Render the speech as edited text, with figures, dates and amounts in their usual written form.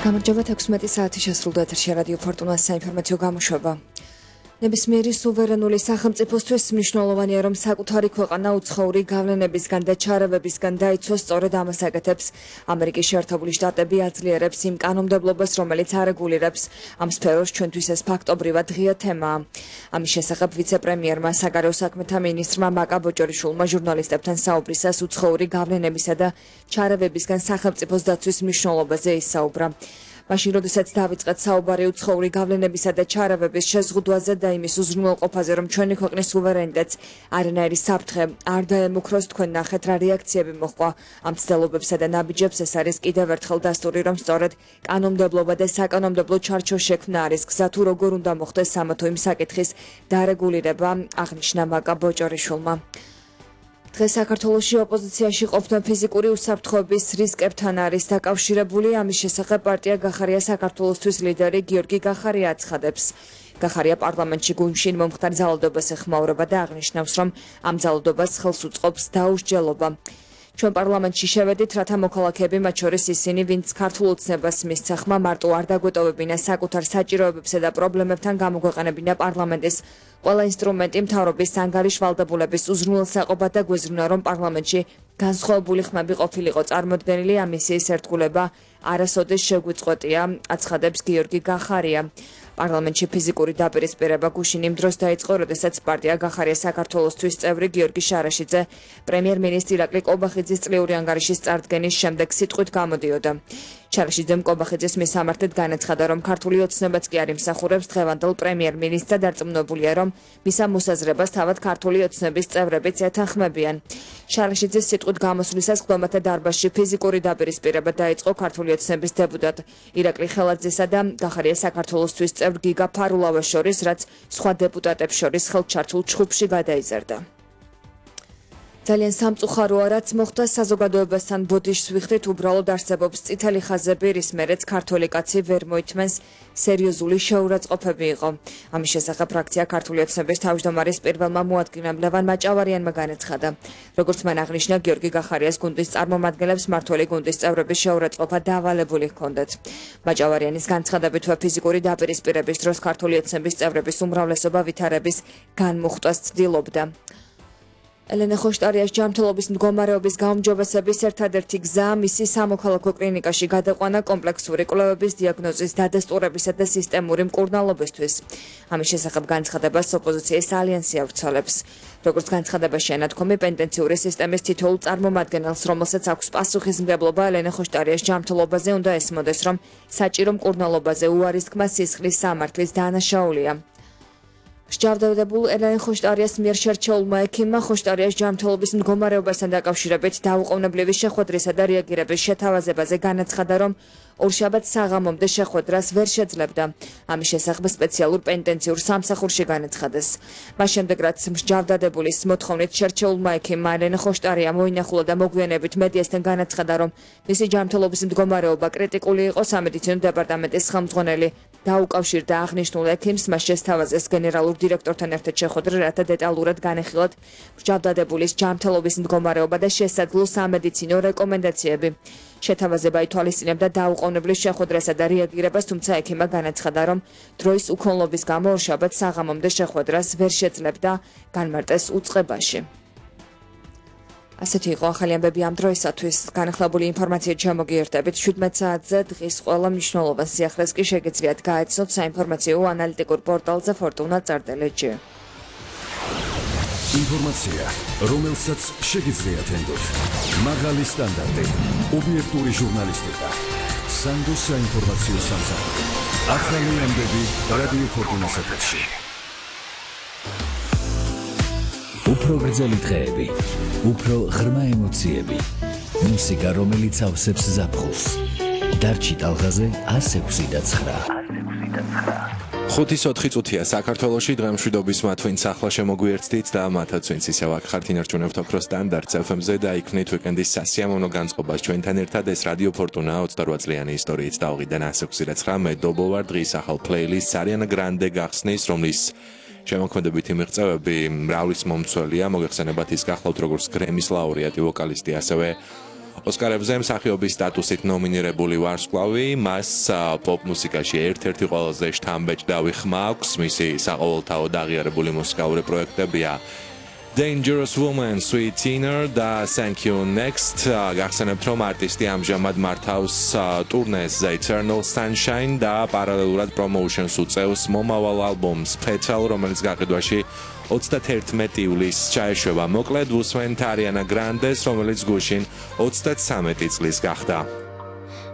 გამარჯობა 16 საათი შესრულდა ეთერში რადიო ფორტუნას საინფორმაციო გამოშვება. ნებისმიერი სუვერენული სახელმწიფოსთვის მნიშვნელოვანია, რომ საკუთარი ქვეყანა უცხოური გავლენებისგან და ჩარევებისგან დაიცვას, სწორედ ამას აკეთებს ამერიკის შეერთებული შტატები აძლიერებს იმ კანონმდებლობას, რომელიც არეგულირებს ამ სფეროს, ჩვენთვის ეს ფაქტობრივად ღია თემაა. ამის შესახებ ვიცე-პრემიერმა საგარეო საქმეთა მინისტრმა მაკა ბოჭორიშვილმა ჟურნალისტებთან საუბრისას უცხოური გავლენებისა და ჩარევებისგან სახელმწიფოს დაცვის მნიშვნელობაზე ისაუბრა. მაშინ, როდესაც დავიწყეთ საუბარი უცხოური გავლენებისა და ჩარევების შეზღუდვაზე და იმის უზრუნველყოფაზე, რომ ჩვენი ქვეყნის სუვერენიტეტს არანაირი საფრთხე არ დაემუქროს, თქვენ ნახეთ რა რეაქციები მოჰყვა ამ ცდილობებსა და ნაბიჯებს. ეს არის კიდევ ერთხელ დასტური, რომ სწორედ კანონმდებლობა და საკანონმდებლო ჩარჩოს შექმნა არის გზა, თუ როგორ უნდა მოხდეს ამა თუ იმ საკითხის დარეგულირება, აღნიშნა მაკა ბოჭორიშვილმა. დღეს საქართველოში ოპოზიციაში ყოფნა ფიზიკური უსაფრთხოების რისკებთან არის დაკავშირებული. ამის შესახებ პარტია გახარია საქართველოსთვის ლიდერი გიორგი გახარია აცხადებს. გახარია პარლამენტში გუნდში მომხდარ ძალადობას ეხმაურება და აღნიშნავს, რომ ამ ძალადობას ხელს უწყობს დაუსჯელობა. ჩვენ პარლამენტში შევედით, რათა მოქალაქეები, მათ შორის ისინი, ვინც ქართულ ოცნებას მისცა ხმა, მარტო არ დაგვეტოვებინა საკუთარ საჭიროებებსა და პრობლემებთან გამოგვეყენებინა პარლამენტის ყველა ინსტრუმენტი მთავრობის ანგარიშ ვალდებულების უზრუნველსაყოფად და გვეზრუნა, რომ პარლამენტში განსხვავებული ხმები ყოფილიყო წარმოდგენილი, ამ მისიის ერთგულება არასოდეს შეგვიწყვეტია, აცხადებს გიორგი გახარია. პარლამენტში ფიზიკური დაპირისპირება გუშინ იმ დროს დაიწყო, როდესაც პარტია გახარია საქართველოსთვის წევრი გიორგი შარაშიძე პრემიერ-მინისტრი ირაკლი კობახიძის წლიური ანგარიშის წარდგენის შემდეგ სიტყვით გამოდიოდა. შარაშიძემ კობახიძის მისამართად განაცხადა, რომ ქართული ოცნებაც კი არ იმსახურებს დღევანდელ პრემიერ-მინისტრს და დარწმუნებულია, რომ მის ამ მოსაზრებას თავად ქართული ოცნების წევრებიც ეთანხმებიან. შარაშიძის სიტყვით გამოსვლისას ხდომათა დარბაზში ფიზიკური დაპირისპირება დაიწყო ქართული ოცნების დეპუტატ ირაკლი ხელაძესა და გახარია საქართველოსთვის წევრ გიგა ფარულავას შორის, რაც სხვა დეპუტატებს შორის ხელჩართულ ჩხუბში გადაიზარდა. ძალიან სამწუხაროა, რაც მოხდა საზოგადოებასთან ბოდიშს ვიხდით, უბრალოდ არსებობს წითელი ხაზები, რის მერეც ქართველი კაცი ვერ მოითმენს სერიოზული შეურაცხყოფები იყო. ამის შესახებ ფრაქცია ქართული ოცნების თავმჯდომარის პირველმა მოადგილემ ლევან მაჭავარიანმა განაცხადა. როგორც მან აღნიშნა, გიორგი გახარიას გუნდის წარმომადგენლებს მმართველი გუნდის წევრების შეურაცხყოფა დავალებული ჰქონდათ. მაჭავარიანის განცხადებით, ფიზიკური დაპირისპირების დროს ქართული ოცნების წევრების უმრავლესობა ვითარების განმუხტვას ცდილობდა. ელენე ხოშტარიას ჯანმრთელობის მდგომარეობის გაუმჯობესების ერთადერთი გზა მისი სამოქალაქო კლინიკაში გადაყვანა კომპლექსური კვლევების დიაგნოზის დადასტურებისა და სისტემური მკურნალობისთვის. ამის შესახებ განცხადებას ოპოზიციის ალიანსი ავრცელებს. როგორც განცხადებაში ანათქვამი, პენტენციური სისტემის თითოეულ წარმომადგენელს, რომელსაც აქვს პასუხისმგებლობა ელენე ხოშტარიას ჯანმრთელობაზე, უნდა ესმოდეს, რომ საჭირო მკურნალობაზე უარის თქმა სისხლის სამართლის დანაშაულია. მსჯავრდებულ ელენე ხოშტარიას მიერ შერჩეულმა ექიმმა ხოშტარიას ჯანმრთელობის მდგომარეობასთან დაკავშირებით დაუყოვნებლივი შეხვედრისა და რეაგირების შეთავაზებაზე განაცხადა, რომ ორშაბათს საღამომდე შეხვედრას ვერ შეძლებდა. ამის შესახებ სპეციალურ პენტენციურ სამსახურში განაცხადეს. მას შემდეგ, რაც მსჯავრდებულის მოთხოვნით შერჩეულმა ექიმმა ელენე ხოშტარია მოინახულა და მოგვიანებით მედიასთან განაცხადა, რომ მისი ჯანმრთელობის მდგომარეობა კრიტიკული იყო, სამედიცინო დეპარტამენტის ხელმძღვანელი დაუკავშირდა აღნიშნულ ექიმს, მას შესთავაზეს გენერალურ დირექტორთან ერთად შეხვედრა, რათა დეტალურად განეხილათ მსჯავრდებულის ჯანმრთელობის მდგომარეობა და შესაძლო სამედიცინო რეკომენდაციები. შეთავაზება ითვალისწინებდა დაუყოვნებლის შეხვედრასა და რეაგირებას, თუმცა ექიმმა განაცხადა, რომ დროის უქონლობის გამო ორშაბათს საღამომდე შეხვედრას ვერ შეძლებდა, განმარტეს უწყებაში. ასეთი იყო ახალი ამბები ამ დროისათვის. განახლებული ინფორმაციით შემოგიერთებით 17 საათზე დღის ყველა მნიშვნელოვან სიახლეს კი შეგიძლიათ გაეცნოთ საინფორმაციო ანალიტიკურ პორტალზე fortuna.lg. ინფორმაცია, რომელსაც შეგიძლიათ ენდოთ. მაღალი სტანდარტი, ობიექტური ჟურნალისტიკა, სანდო საინფორმაციო სამსახური. ახალი ამბები რადიო ფორტუნას ეთერში. უფრო გრძელი დღეები, უფრო ღრმა ემოციები, მუსიკა, რომელიც ავსებს ზაფხულს. დარჩი ტალღაზე 106.9. 5-4 წუთია საქართველოში დღემშვიდობის მათვინც ახლა შემოგვიერთდით და მათაც ვინც ისევ აქ ხართ ინარჩუნებთ ოქროს სტანდარტს FM-ზე და იქნით უიკენდის სასიამოვნო განწყობას ჩვენთან ერთად ეს რადიო ფორტუნა 28 წლიანი ისტორიით დავყიდან 106.9 მედობო ვარ დღის ახალ პლეილისტს არიანა გრანდე გახსნის, რომლის შემოქმედებითი მიღწევები მრავლის მომცველია, მოგეხსენებათ ის გახლავთ როგორც გრემის ლაურეატი ვოკალისტი, ასევე ოსკარებზე მსახიობის სტატუსით ნომინირებული ვარსკვლავი, მას პოპ მუსიკაში ერთ-ერთი ყველაზე შთამბეჭდავი ხმა აქვს, მისი საყოველთაოდ აღიარებული მუსიკალური პროექტებია Dangerous Woman, Sweet Teener და Thank You Next. გახსენებთ, რომ არტისტი ამჟამად მართავს ტურნეს The Eternal Sunshine და პარალელურად პრომოუშენს უწევს მომავალ ალბომს Petal, რომელიც გაყიდვაში 31 ივლისს ჩაეშვება. მოკლედ უსმენთ Ariana Grandes, რომელიც გუშინ 33 წლის გახდა.